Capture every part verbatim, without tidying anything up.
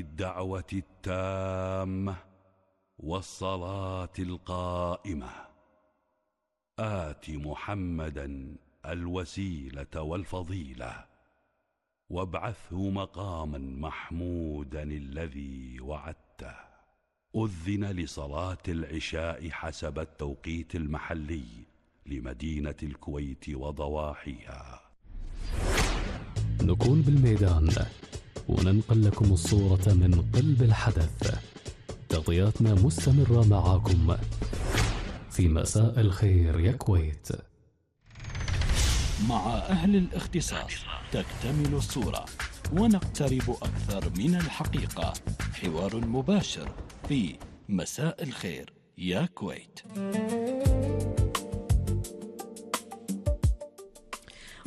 الدعوة التامة والصلاة القائمة آت محمدا الوسيلة والفضيلة وابعثه مقاما محمودا الذي وعدته. أذن لصلاة العشاء حسب التوقيت المحلي لمدينة الكويت وضواحيها. نكون بالميدان وننقل لكم الصورة من قلب الحدث. تغطياتنا مستمرة معاكم في مساء الخير يا كويت. مع أهل الاختصاص تكتمل الصورة ونقترب أكثر من الحقيقة. حوار مباشر في مساء الخير يا كويت.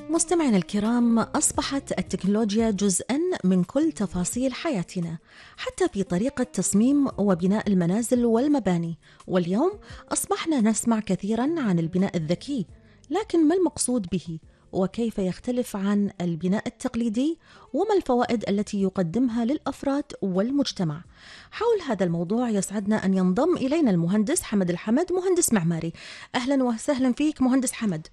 مستمعينا الكرام، أصبحت التكنولوجيا جزءاً من كل تفاصيل حياتنا، حتى في طريقة تصميم وبناء المنازل والمباني. واليوم أصبحنا نسمع كثيراً عن البناء الذكي، لكن ما المقصود به؟ وكيف يختلف عن البناء التقليدي؟ وما الفوائد التي يقدمها للأفراد والمجتمع؟ حول هذا الموضوع يسعدنا أن ينضم إلينا المهندس حمد الحمد، مهندس معماري. أهلاً وسهلاً فيك مهندس حمد.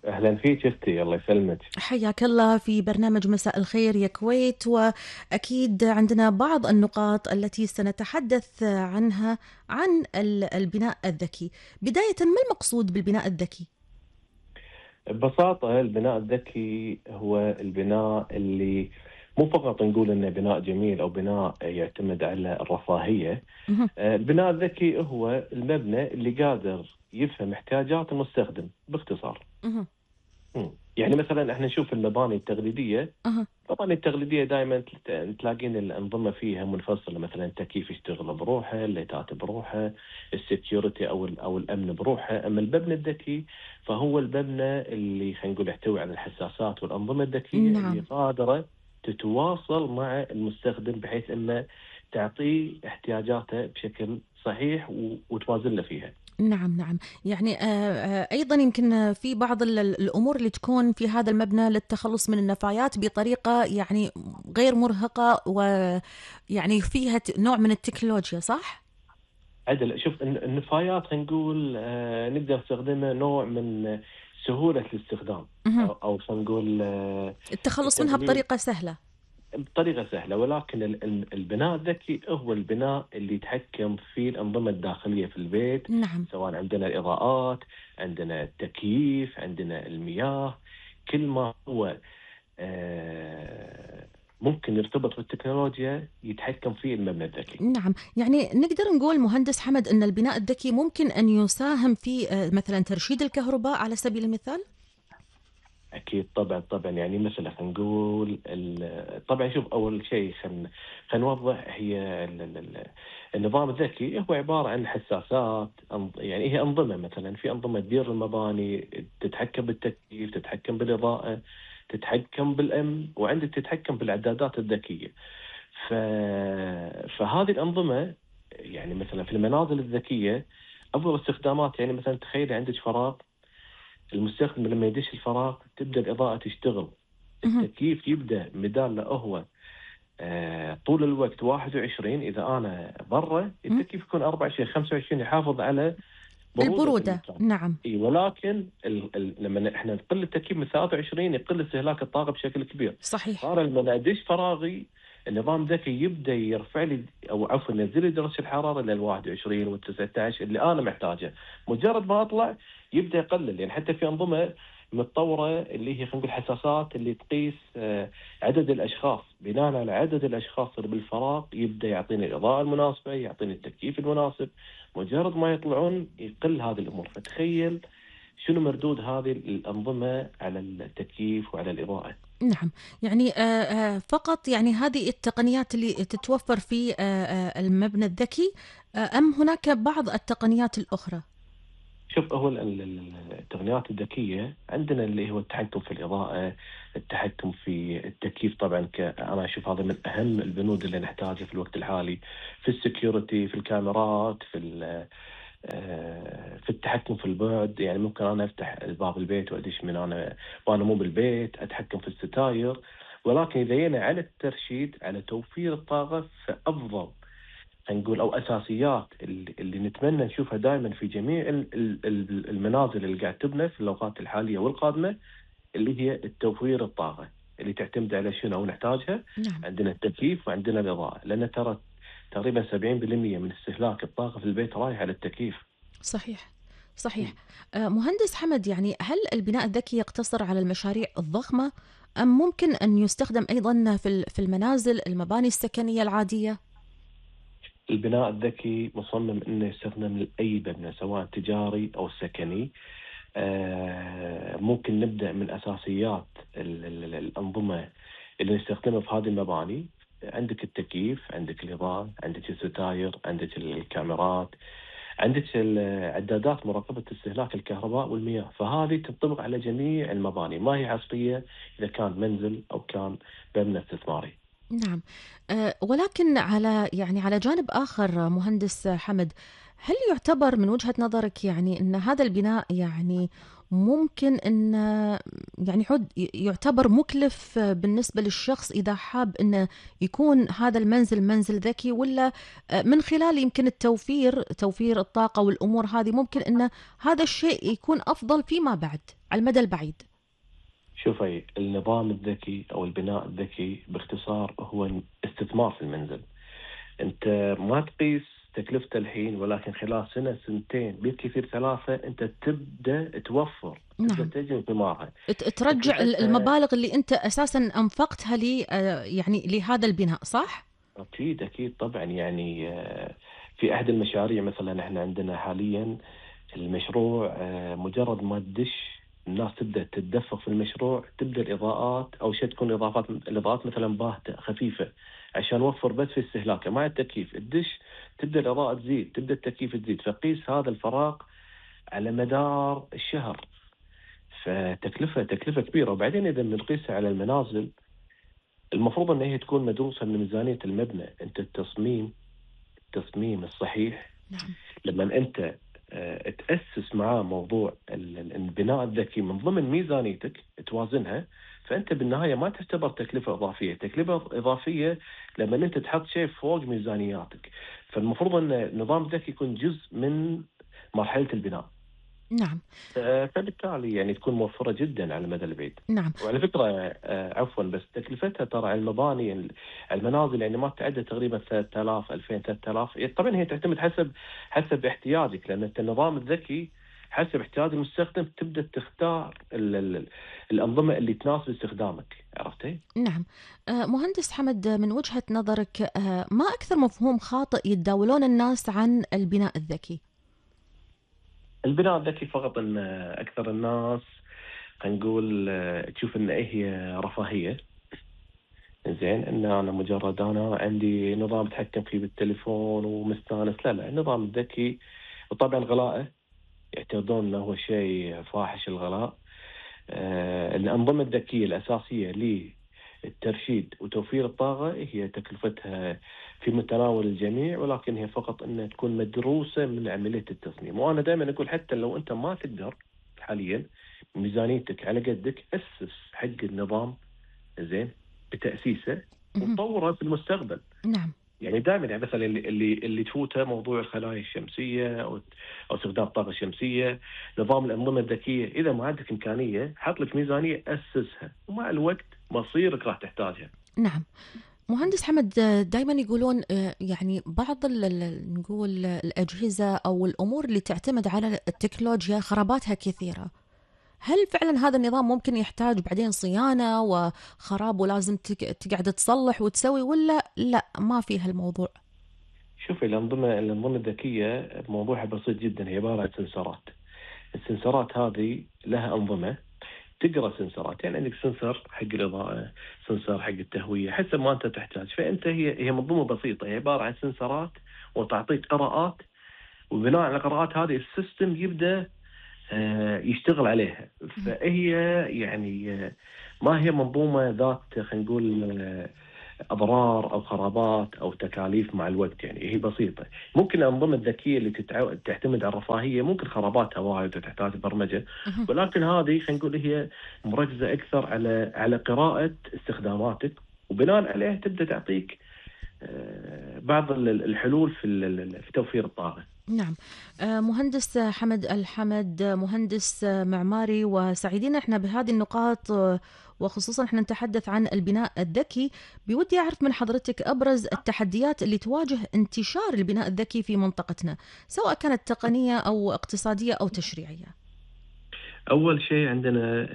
أهلا فيك أختي، الله يسلمك. حياك الله في برنامج مساء الخير يا كويت. وأكيد عندنا بعض النقاط التي سنتحدث عنها عن البناء الذكي. بداية، ما المقصود بالبناء الذكي؟ ببساطة البناء الذكي هو البناء اللي مو فقط نقول إنه بناء جميل أو بناء يعتمد على الرفاهية. البناء الذكي هو المبنى اللي قادر يفهم احتياجات المستخدم باختصار. مم. يعني مثلا احنا نشوف المباني التقليديه. أه. المباني التقليديه دائما تلاقين الانظمه فيها منفصله، مثلا التكييف يشتغل بروحه، الليتات بروحه، السكيورتي او او الامن بروحه. اما المبنى الذكي فهو المبنى اللي خلينا نقول يحتوي على الحساسات والانظمه الذكيه. نعم. اللي قادره تتواصل مع المستخدم بحيث انه تعطيه احتياجاته بشكل صحيح وتوازن له فيها. نعم نعم. يعني أيضا يمكن في بعض الأمور اللي تكون في هذا المبنى للتخلص من النفايات بطريقة يعني غير مرهقة، ويعني فيها نوع من التكنولوجيا، صح؟ عدل. شوف النفايات خلينا نقول آه نقدر نستخدمها نوع من سهولة الاستخدام، أو, أو خلينا نقول آه التخلص منها بطريقة سهلة بطريقة سهلة. ولكن البناء الذكي هو البناء اللي يتحكم في الأنظمة الداخلية في البيت. نعم. سواء عندنا الإضاءات، عندنا التكييف، عندنا المياه، كل ما هو آه ممكن يرتبط بالتكنولوجيا يتحكم فيه المبنى الذكي. نعم. يعني نقدر نقول مهندس حمد أن البناء الذكي ممكن أن يساهم في مثلا ترشيد الكهرباء على سبيل المثال؟ أكيد طبعا طبعا. يعني مثلا خلينا نقول طبعا شوف أول شيء خلينا خلينا نوضح هي النظام الذكي هو عبارة عن حساسات. يعني هي أنظمة، مثلا في أنظمة تدير المباني، تتحكم بالتكييف، تتحكم بالإضاءة، تتحكم بالأمن، وعندك تتحكم بالإعدادات الذكية. ف... فهذه الأنظمة يعني مثلا في المنازل الذكية أفضل استخدامات. يعني مثلا تخيل عندك فراغ، المستخدم لما يدش الفراغ تبدأ الإضاءة تشتغل، التكييف يبدأ بدال له هو آه طول الوقت واحد وعشرين، إذا أنا برا التكييف يكون أربعة وعشرين خمسة وعشرين يحافظ على برودة البرودة. نعم. إيه. ولكن ال ال لما إحنا نقل التكييف من ثلاثة وعشرين يقل استهلاك الطاقة بشكل كبير. صحيح. صار لما أدش فراغي النظام ذكي يبدأ يرفع لي أو عفوا ينزل لي درجة الحرارة للواحد وعشرين والتسعة عشر اللي أنا محتاجه. مجرد ما أطلع يبدأ يقلل. يعني حتى في أنظمة متطورة اللي هي خلينا نقول حساسات اللي تقيس عدد الأشخاص، بناء على عدد الأشخاص اللي بالفراغ يبدأ يعطيني الإضاءة المناسبة، يعطيني التكييف المناسب. مجرد ما يطلعون يقل هذه الأمور. فتخيل شنو مردود هذه الأنظمة على التكييف وعلى الإضاءة. نعم. يعني فقط يعني هذه التقنيات اللي تتوفر في المبنى الذكي، أم هناك بعض التقنيات الأخرى؟ شوف هو التقنيات الذكية عندنا اللي هو التحكم في الإضاءة، التحكم في التكييف. طبعا أنا أشوف هذا من أهم البنود اللي نحتاجها في الوقت الحالي، في السكيورتي، في الكاميرات، في في التحكم في البعد. يعني ممكن أنا أفتح باب البيت وأدش من أنا وأنا مو بالبيت، أتحكم في الستاير. ولكن إذا جينا على الترشيد على توفير الطاقة فأفضل نقول أو أساسيات اللي, اللي نتمنى نشوفها دائما في جميع ال- ال- ال- المنازل اللي قاعد تبنى في الأوقات الحالية والقادمة، اللي هي التوفير الطاقة اللي تعتمد على شنو نحتاجها. نعم. عندنا التكييف وعندنا الإضاءة، لأن ترى تقريبا سبعين بالمئة من استهلاك الطاقة في البيت رايح على التكييف. صحيح صحيح. آه، مهندس حمد، يعني هل البناء الذكي يقتصر على المشاريع الضخمة أم ممكن أن يستخدم أيضا في ال- في المنازل المباني السكنية العادية؟ البناء الذكي مصمم انه يستخدم لاي مبنى سواء تجاري او سكني. آه، ممكن نبدا من اساسيات ال- ال- الانظمه اللي نستخدمها في هذه المباني. عندك التكييف، عندك الاضاءه، عندك الستاير، عندك الكاميرات، عندك ال- عدادات مراقبه استهلاك الكهرباء والمياه. فهذه تنطبق على جميع المباني، ما هي حصريه اذا كان منزل او كان مبنى استثماري. نعم. آه، ولكن على يعني على جانب آخر، آه، مهندس حمد، هل يعتبر من وجهة نظرك يعني أن هذا البناء يعني ممكن أن آه، يعني يعد يعتبر مكلف آه، بالنسبة للشخص إذا حاب أنه يكون هذا المنزل منزل ذكي، ولا آه، من خلال يمكن التوفير توفير الطاقة والأمور هذه ممكن أن هذا الشيء يكون أفضل فيما بعد على المدى البعيد؟ شوفي، النظام الذكي أو البناء الذكي باختصار هو استثمار في المنزل. أنت ما تقيس تكلفته الحين، ولكن خلال سنة سنتين بالكثير ثلاثة أنت تبدأ توفر، تبدأ نعم. تجني ثمارها. ت- ترجع ال- تكلفتها المبالغ اللي أنت أساسا أنفقتها لي آه، يعني لهذا البناء، صح؟ أكيد أكيد طبعا. يعني آه، في أحد المشاريع مثلا احنا عندنا حاليا المشروع، آه، مجرد ما تدش الناس تبدأ تتدفق في المشروع، تبدأ الإضاءات أو شيء تكون إضافات الإضاءات مثلا باهتة خفيفة عشان نوفر بس في استهلاكه مع التكييف. الدش تبدأ الإضاءة تزيد، تبدأ التكييف تزيد، فقيس هذا الفراغ على مدار الشهر. فتكلفة تكلفة كبيرة. وبعدين إذا بنقيسها على المنازل، المفروض أن هي تكون مدروسة من ميزانية المبنى. أنت التصميم التصميم الصحيح نعم. لما أنت آه، تأسس معاه موضوع ال- ال- البناء الذكي من ضمن ميزانيتك توازنها، فأنت بالنهاية ما تعتبر تكلفة إضافية. تكلفة إضافية لما أنت تحط شيء فوق ميزانياتك. فالمفروض أن النظام الذكي يكون جزء من مرحلة البناء. نعم. آه، فبالتالي يعني تكون موفرة جدا على المدى البعيد. نعم. وعلى فكرة آه، عفوا، بس تكلفتها ترى على المباني ال- المنازل يعني ما تتعدى تقريبا ثلاثة آلاف ألفين ثلاثة آلاف. طبعا هي تعتمد حسب حسب احتياجك، لأن أنت النظام الذكي حسب احتياج المستخدم تبدأ تختار ال ال الأنظمة اللي تناسب استخدامك. عرفتي؟ نعم. آه، مهندس حمد، من وجهة نظرك آه، ما أكثر مفهوم خاطئ يتداولون الناس عن البناء الذكي؟ البناء الذكي فقط أن أكثر الناس خلينا نقول آه، تشوف أن إيه هي رفاهية. زين، ان انا مجرد انا عندي نظام اتحكم فيه بالتليفون ومستانس. لا لا، النظام الذكي وطبعا غلائه يعتقدون انه هو شيء فاحش الغلاء. آه الانظمه الذكيه الاساسيه للترشيد وتوفير الطاقه هي تكلفتها في متناول الجميع، ولكن هي فقط انها تكون مدروسه من عمليه التصميم. وانا دائما اقول حتى لو انت ما تقدر حاليا ميزانيتك على قدك، اسس حق النظام زين بتأسيسه مهم. وتطوره في المستقبل. نعم. يعني دائما يعني مثلا اللي اللي اللي تفوته موضوع الخلايا الشمسيه او او استخدام الطاقه الشمسيه، نظام الانظمه الذكيه، اذا ما عندك امكانيه حط لك ميزانيه اسسها، ومع الوقت مصيرك راح تحتاجها. نعم. مهندس حمد، دائما يقولون آه، يعني بعض ال- ال- نقول الأجهزة أو الأمور اللي تعتمد على التكنولوجيا خراباتها كثيرة. هل فعلا هذا النظام ممكن يحتاج بعدين صيانة وخراب ولازم تك- تقعد تصلح وتسوي، ولا لا ما في هالموضوع؟ شوفي، الانظمه الانظمه الذكيه موضوعها بسيط جدا، هي عباره عن سنسرات. السنسرات هذه لها انظمه تقرا سنسرات. يعني عندك سنسر حق الاضاءه، سنسر حق التهويه، حسب ما انت تحتاج. فانت هي هي منظومه بسيطه، هي عباره عن سنسرات وتعطيك قراءات، وبناء على القراءات هذه السيستم يبدا آه، يشتغل عليها. فهي يعني آه، ما هي منظومه ذات خلينا نقول آه، أضرار أو خرابات أو تكاليف مع الوقت. يعني هي بسيطة. ممكن الأنظمة الذكية اللي تتع... تعتمد على الرفاهية ممكن خراباتها وايد وتحتاج برمجة، ولكن هذه خلينا نقول هي مركزة أكثر على على قراءة استخداماتك، وبناء عليها تبدأ تعطيك بعض الحلول في في توفير الطاقة. نعم. مهندس حمد الحمد، مهندس معماري، وسعيدين احنا بهذه النقاط، وخصوصا احنا نتحدث عن البناء الذكي. بودي أعرف من حضرتك أبرز التحديات اللي تواجه انتشار البناء الذكي في منطقتنا، سواء كانت تقنية أو اقتصادية أو تشريعية. أول شيء عندنا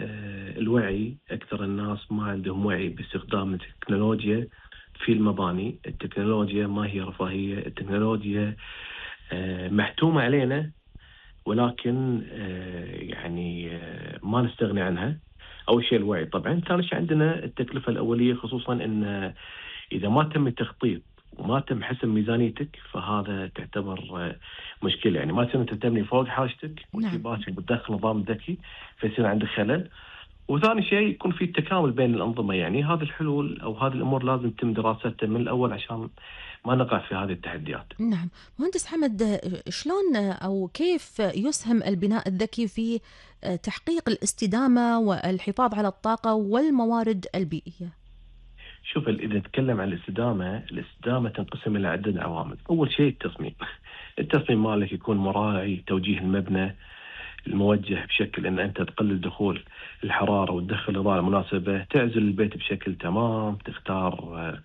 الوعي. أكثر الناس ما عندهم وعي باستخدام التكنولوجيا في المباني. التكنولوجيا ما هي رفاهية، التكنولوجيا محتومة علينا، ولكن يعني ما نستغني عنها. أول شيء الوعي طبعا. ثاني شيء عندنا التكلفة الأولية، خصوصا أن إذا ما تم التخطيط وما تم حسب ميزانيتك فهذا تعتبر مشكلة. يعني ما تم تبني فوق حاجتك وتباشر بتدخل نظام ذكي فيصير عندك خلل. وثاني شيء يكون في تكامل بين الأنظمة. يعني هذه الحلول أو هذه الأمور لازم تتم دراستها من الأول عشان ما نقع في هذه التحديات. نعم. مهندس حمد، شلون أو كيف يسهم البناء الذكي في تحقيق الاستدامة والحفاظ على الطاقة والموارد البيئية؟ شوف، إذا نتكلم عن الاستدامة، الاستدامة تنقسم إلى عدة عوامل. أول شيء التصميم. التصميم مالك يكون مراعي توجيه المبنى الموجه بشكل أن أنت تقلل دخول الحرارة وتدخل الإضاءة المناسبة، تعزل البيت بشكل تمام، تختار آه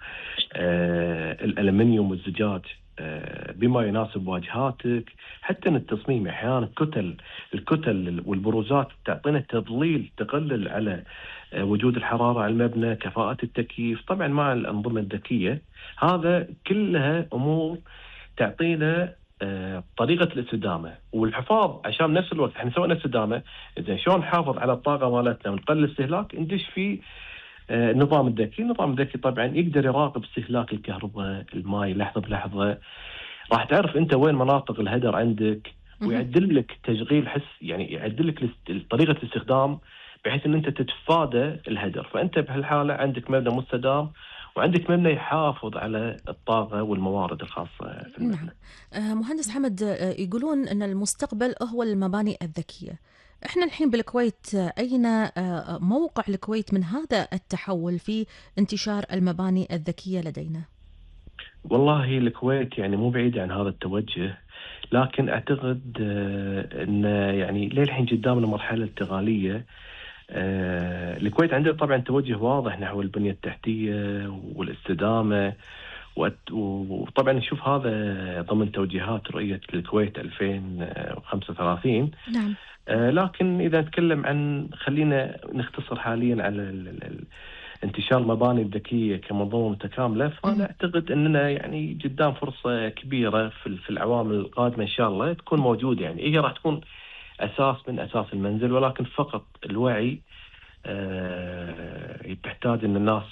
آه الألمنيوم والزجاج آه بما يناسب واجهاتك. حتى التصميم أحيانا الكتل الكتل والبروزات تعطينا تضليل تقلل على آه وجود الحرارة على المبنى، كفاءة التكييف طبعا مع الأنظمة الذكية. هذا كلها أمور تعطينا آه، طريقة الاستدامة والحفاظ. عشان نفس الوقت احنا سوينا استدامة، إذا شلون نحافظ على الطاقة مالتنا ونقلل الاستهلاك، ندش في آه، النظام الذكي. النظام الذكي طبعا يقدر يراقب استهلاك الكهرباء، الماء، لحظة بلحظة. راح تعرف انت وين مناطق الهدر عندك، ويعدل لك تشغيل حس، يعني يعدل لك طريقة الاستخدام بحيث ان انت تتفادى الهدر. فانت بهالحالة عندك مبنى مستدام وعندك مبنى يحافظ على الطاقة والموارد الخاصة في المبنى. نعم. آه مهندس حمد، آه يقولون أن المستقبل هو المباني الذكية. إحنا الحين بالكويت، أين آه موقع الكويت من هذا التحول في انتشار المباني الذكية لدينا؟ والله الكويت يعني مو بعيد عن هذا التوجه، لكن أعتقد آه أن يعني للحين قدامنا مرحلة انتقالية. آه، الكويت عندها طبعا توجه واضح نحو البنية التحتية والاستدامة، وطبعا نشوف هذا ضمن توجيهات رؤية الكويت ألفين وخمسة وثلاثين. نعم. آه، لكن إذا نتكلم عن خلينا نختصر حاليا على ال ال انتشار المباني الذكية كمنظومة متكاملة، فأنا أعتقد أننا يعني قدام فرصة كبيرة في في الأعوام القادمة إن شاء الله تكون موجودة. يعني هي راح تكون أساس من أساس المنزل، ولكن فقط الوعي أه تحتاج أن الناس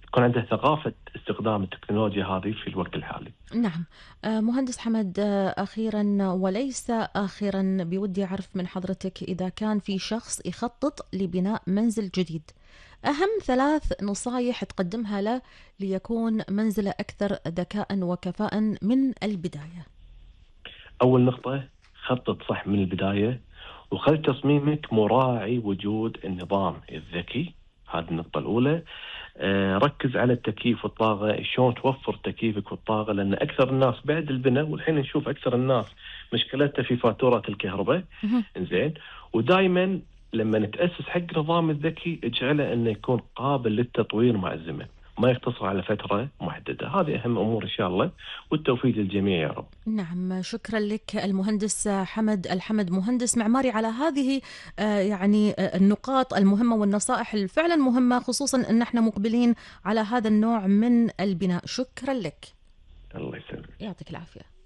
يكون عندها ثقافة استخدام التكنولوجيا هذه في الوقت الحالي. نعم. أه مهندس حمد، أه أخيرا وليس آخرا، بودي أعرف من حضرتك إذا كان في شخص يخطط لبناء منزل جديد، أهم ثلاث نصايح تقدمها له ليكون منزله أكثر ذكاء وكفاءة من البداية. أول نقطة، خطط صح من البداية، وخل تصميمك مراعي وجود النظام الذكي. هذه النقطة الأولى. آه ركز على التكييف والطاقة، شلون توفر تكييفك والطاقة، لأن أكثر الناس بعد البناء، والحين نشوف أكثر الناس مشكلتها في فاتورة الكهرباء. إنزين، ودائما لما نتأسس حق نظام الذكي اجعله أنه يكون قابل للتطوير مع الزمن، ما يقتصر على فترة محددة. هذه أهم أمور إن شاء الله، والتوفيق للجميع يا رب. نعم، شكرا لك المهندس حمد الحمد، مهندس معماري، على هذه يعني النقاط المهمة والنصائح الفعلا مهمة، خصوصا أن احنا مقبلين على هذا النوع من البناء. شكرا لك. الله يسلمك. يعطيك العافية.